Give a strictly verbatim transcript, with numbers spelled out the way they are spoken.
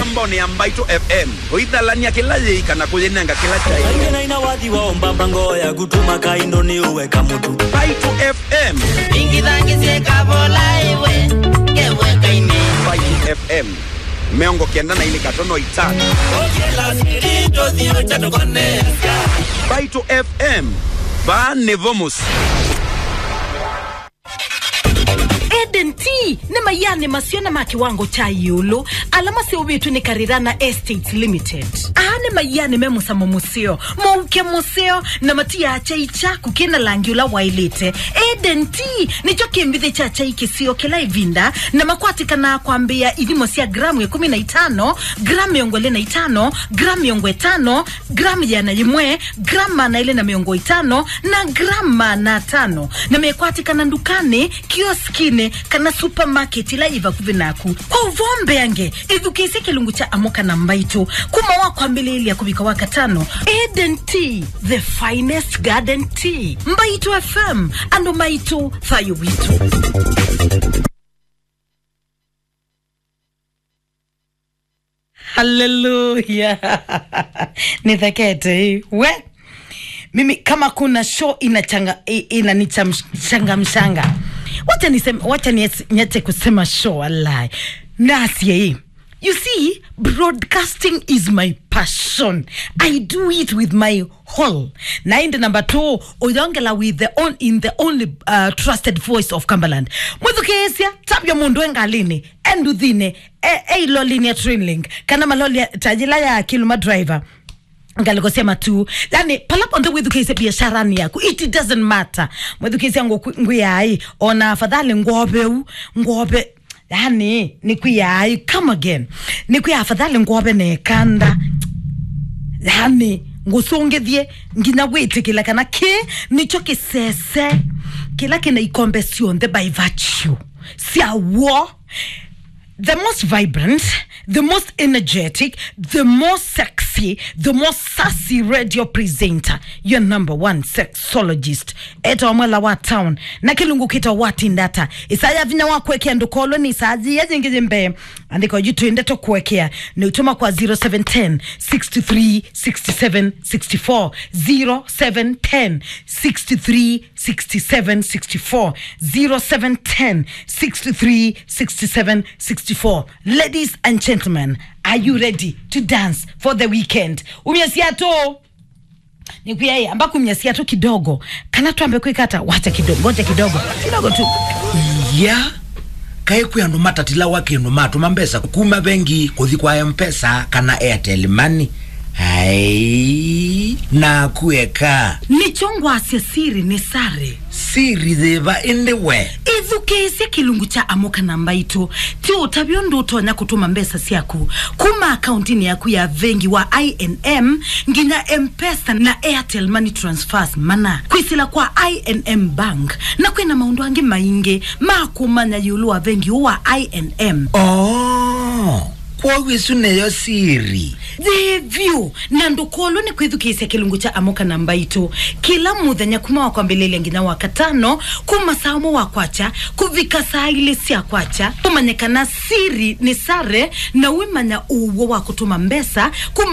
Mboni ya Mbaitũ F M, kũithalania kĩla yĩika na kũyĩnenga kĩla kyaĩ. Kaingĩ na ina wathi wa ũmbamba ngoo yaku tũmaka indo nĩ ũweka mũtu. Mbaitũ F M. Ingithangĩ syĩkavola ĩwe, ngewekainĩ. Mbaitũ F M, mĩongo kenda na ilĩ katono itano. Okĩla sirito thio chatũkonea. Mbaitũ F M, vaa nĩvo mũsyĩ. Eden Tea nĩ maianĩ maseo na ma kĩwango kya ĩũlũ ala maseũvĩtw'e nĩ Karirana Estates Limited. Aa nĩ maianĩ me mũsamo mũseo, mũuke mũseo, na matiaa kyai kyaku kĩ na langi ũla waĩlĩte. Eden Tea nĩkyo kĩmbithĩ kya kyai kĩseo kĩla ĩvinda, na makwatĩkanaa kwambĩĩa ithimo sya gramu ĩkũmi na itano, gramu mĩongo ĩlĩ na itano, gramu mĩongo ĩtano, gramu ĩana yĩmwe, gramu maana elĩ na mĩongo ĩtano, na gramu maana atano, na mekwatĩkana ndukanĩ, kioskinĩ, kana supermarket ĩla yĩ vakuvĩ naku. Kwa ũvoo mbeange, ĩthukĩĩsye kĩlungu kya Amũka na Mbaitũ kuma wa kwambĩlĩĩlya kũvika wa katano. Eden Tea, the finest garden tea. Mbaitũ F M, andũ maitũ, thayũ witũ. Haleluya. Nithekete, eh. We. Mimi kama kuna show inachanga, i-, inanichamshangamshanga. Wacha niseme, wacha nies-, niache kusema show, wallahi. Nasie, eh. You see, broadcasting is my passion. I do it with my whole. Na indi number two, uyongela with the on-, in the only, uh, trusted voice of Cumberland. Mwithukiisya, tavya mundu e ngalini, e nduthini, e, e ilolini ya Trainlink, kana maloli ya, ta yila ya Kiluma Driver, ngaliko sya matu. Yani, pala ponthe withukiisye biasharani yaku, it doesn't matter. Mwithukiisya ngũ-, ngwĩai, ona afadhali ngwove u, ngwove, yani, nĩkwĩai, come again. Nĩkwĩa afadhali ngwove na ĩkanda. Yani, ngũsũngĩthye nginya wĩtĩkĩla kana kĩ nĩkyo kĩsese kĩla kĩna ikombe syonthe by virtue sya w'o. The most vibrant, the most energetic, the most sexy, the most sassy radio presenter, your number one sexologist. Etawa Mwela wa Town. Na kĩlungu kĩtawa Watinda Ata. Ĩsaa ya vinya wa kũekea ndũkolwe nĩ ĩsaa yĩya yĩngĩ yĩ mbee. Andĩka oyu twĩ ndeto kũekea. Nĩ ũtũma kwa zero seven ten, six two three, six seven six four. Zero seven ten, six two three, six seven six four. Zero seven ten, six two three, six seven six four. Ladies and gentlemen, are you ready to dance for the weekend? Umya siato. Nĩkwĩa, ĩ, amba kumya siato kidogo. Kana twambe kwĩka ata? Wacha kidogo, ngoja kidogo. Kidogo tu. Ya. Kaĩ kwĩ andũ matatilawa kĩndũ matũma mbesa kuma vengi kũthi kwa M-Pesa kana Airtel Money? Ai, naku eka. Nĩkyo ngwasya siri nĩ sare. Siri yĩva ĩndĩ we? Ĩthukĩĩsye kĩlungu kya Amũka na Mbaitũ. Ti ũtavya ũndũ ũtonya kũtũma mbesa syaku kuma akauntinĩ yaku ya vengi wa I N M nginya M-Pesa na Airtel Money transfers mana kwĩsĩla kwa I N M Bank, na kwĩna maũndũ angĩ maingĩ ma kũmanya ĩũlũ wa vengi ũũ wa I N M. Oh, kwoou ĩsu nĩyo siri. Yĩĩ vyũ, na ndũkolwe nĩ kwĩthukĩĩsya kĩlungu kya Amũka na Mbaitũ kĩla mũthenya kuma wa kwambĩlĩlya nginya wa katano, kuma saa ũmwe wa kwakya kũvika saa ilĩ sya kwakya, ũmanye kana siri nĩ sare na wĩmanya ũw'o wa kũtũma mbesa kuma